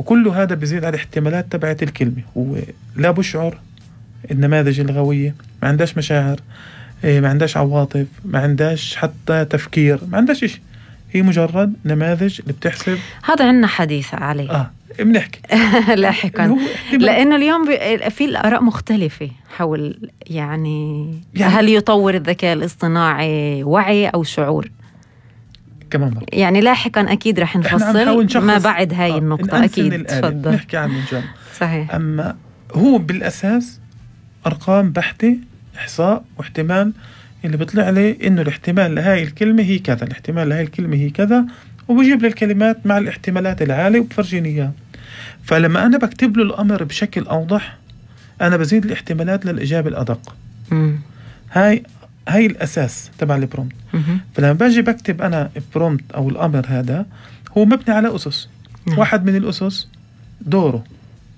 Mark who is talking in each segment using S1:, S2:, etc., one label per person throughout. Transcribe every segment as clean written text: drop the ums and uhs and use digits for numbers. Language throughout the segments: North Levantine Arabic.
S1: وكل هذا بيزيد على الاحتمالات تبعت الكلمة. هو لا بشعر، النماذج اللغوية ما عندهاش مشاعر، ما عندهاش عواطف، ما عندهاش حتى تفكير، ما عندهاش إشي، هي مجرد نماذج اللي بتحسب.
S2: هذا عنا حديث عليه
S1: بنحكي
S2: لاحقا، لأنه اليوم في الآراء مختلفة حول يعني هل يطور الذكاء الاصطناعي وعي أو شعور
S1: كمان مرة.
S2: يعني لاحقا أكيد رح نفصل ما بعد هاي النقطة. أكيد تفضل
S1: نحكي عنه إن شاء الله.
S2: صحيح.
S1: أما هو بالأساس أرقام بحتة، إحصاء واحتمال، اللي بيطلع لي إنه الاحتمال لهاي الكلمة هي كذا، الاحتمال لهاي الكلمة هي كذا، وبجيب لي الكلمات مع الاحتمالات العالية وبفرجيني إياها. فلما أنا بكتب له الأمر بشكل أوضح أنا بزيد الاحتمالات للإجابة الأدق. هاي الأساس تبع البرومت. فلما باجي بكتب أنا البرومت أو الأمر هذا هو مبني على أسس. واحد من الأسس دوره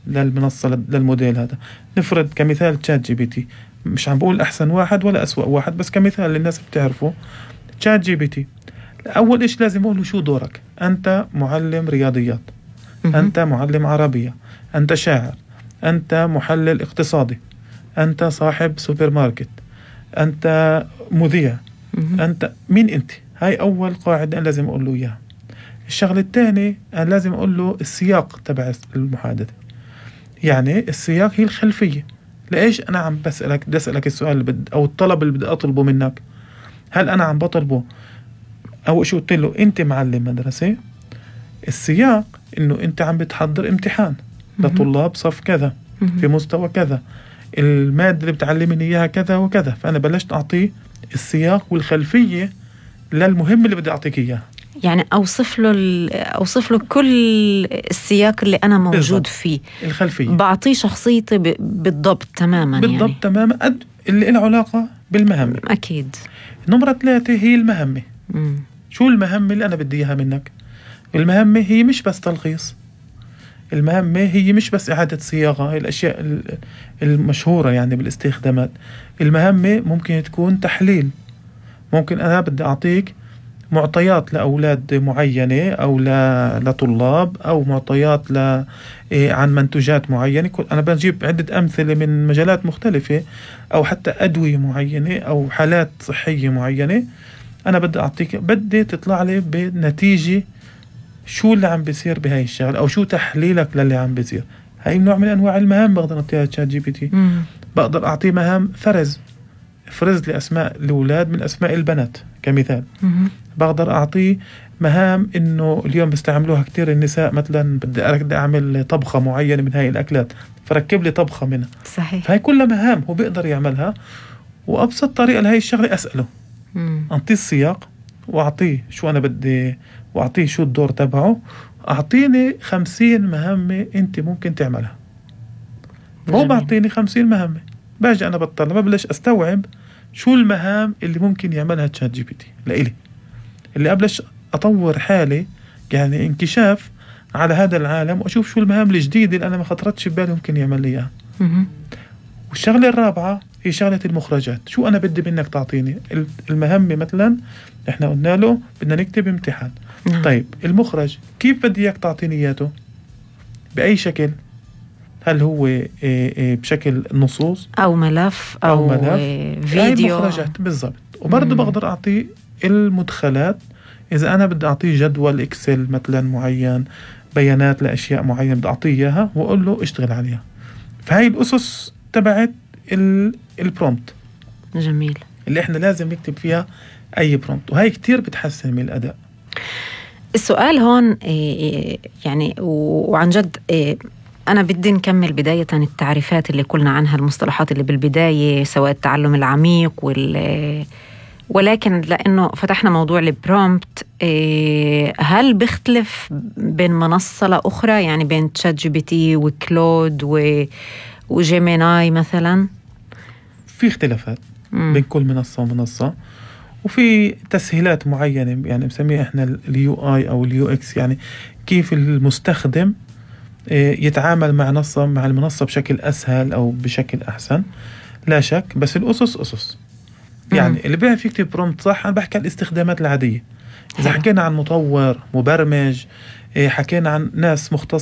S1: للمنصة للموديل هذا، نفرض كمثال تشات جي بي تي، مش عم بقول أحسن واحد ولا أسوأ واحد، بس كمثال للناس بتعرفه تشات جي بي تي. أول إيش لازم أقوله شو دورك؟ أنت معلم رياضيات، أنت معلم عربية، أنت شاعر، أنت محلل اقتصادي، أنت صاحب سوبر ماركت، أنت مذيع، أنت مين أنت؟ هاي أول قاعدة أنا لازم أقول له إياها. الشغلة الثانية أنا لازم أقول له السياق تبع المحادثة، يعني السياق هي الخلفية. لإيش أنا عم بسألك السؤال أو الطلب اللي بدي أطلبه منك؟ هل أنا عم بطلبه أو شو قلت له أنت معلم مدرسة؟ السياق إنه أنت عم بتحضر امتحان لطلاب صف كذا في مستوى كذا، المادة اللي بتعلمني إياها كذا وكذا. فأنا بلشت أعطيه السياق والخلفية للمهم اللي بدي أعطيك إياه.
S2: يعني أوصف له كل السياق اللي أنا موجود بالضبط. فيه
S1: الخلفية
S2: بعطيه شخصيتي بالضبط تماما،
S1: بالضبط يعني. تماما اللي له علاقة بالمهمة.
S2: أكيد.
S1: نمرة 3 هي المهمة. شو المهمة اللي أنا بدي إياها منك؟ المهمة هي مش بس تلخيص، المهمة هي مش بس إعادة صياغة، هي الأشياء المشهورة يعني بالاستخدامات. المهمة ممكن تكون تحليل، ممكن أنا بدي أعطيك معطيات لأولاد معينة أو لطلاب، أو معطيات عن منتوجات معينة. أنا بجيب عدة أمثلة من مجالات مختلفة، أو حتى أدوية معينة أو حالات صحية معينة. أنا بدي أعطيك، بدي تطلع لي بنتيجة شو اللي عم بيصير بهاي الشغل، أو شو تحليلك للي عم بيصير. هاي نوع من أنواع المهام بقدر أعطيها تشات جي بي تي. بقدر أعطيه مهام فرز لي أسماء الأولاد من أسماء البنات كمثال. بقدر أعطيه مهام إنه اليوم بيستعملوها كتير النساء، مثلا بدي أعمل طبخة معينة من هاي الأكلات، فركب لي طبخة منها.
S2: صحيح.
S1: فهي كلها مهام هو بيقدر يعملها. وأبسط طريقة لهي الشغلة أسأله، أعطيه السياق وأعطيه شو أنا بدي، وأعطيه شو الدور تبعه، أعطيني 50 مهمة أنت ممكن تعملها. هو بعطيني 50 مهمة، باجي أنا بطلع ببلش أستوعب شو المهام اللي ممكن يعملها تشات جي بي تي لإلي، اللي أبلش أطور حالي يعني انكشاف على هذا العالم، وأشوف شو المهام الجديدة اللي أنا ما خطرتش ببالي ممكن يعمل لي إياها. والشغلة الرابعة هي شغلة المخرجات. شو أنا بدي منك تعطيني المهمة؟ مثلا إحنا قلنا له بدنا نكتب امتحان. طيب المخرج كيف بدي إياك تعطيني إياته؟ بأي شكل؟ هل هو بشكل نصوص
S2: أو ملف أو فيديو؟
S1: مخرجات بالضبط. وبرضه بقدر أعطيه المدخلات، إذا أنا بدي أعطيه جدول إكسل مثلا معين، بيانات لأشياء معينة بدي أعطيه إياها وأقول له اشتغل عليها. فهي الأسس تبعت البرومت.
S2: جميل.
S1: اللي إحنا لازم نكتب فيها أي برومت، وهي كتير بتحسن من الأداء.
S2: السؤال هون يعني وعن جد أنا بدي نكمل بداية التعريفات اللي قلنا عنها، المصطلحات اللي بالبداية، سواء التعلم العميق ولكن لأنه فتحنا موضوع البرومبت، هل بيختلف بين منصة لأخرى؟ يعني بين تشات جي بي تي وكلود وجيميناي مثلا؟
S1: في اختلافات بين كل منصة ومنصة، وفي تسهيلات معينة يعني بسميها احنا اليو اي او اليو اكس، يعني كيف المستخدم يتعامل مع المنصة بشكل أسهل أو بشكل أحسن، لا شك. بس الأسس أسس. يعني اللي بيعرف يكتب برومت صح، أنا بحكي عن الاستخدامات العادية. إذا حكينا عن مطور مبرمج، حكينا عن ناس مختصة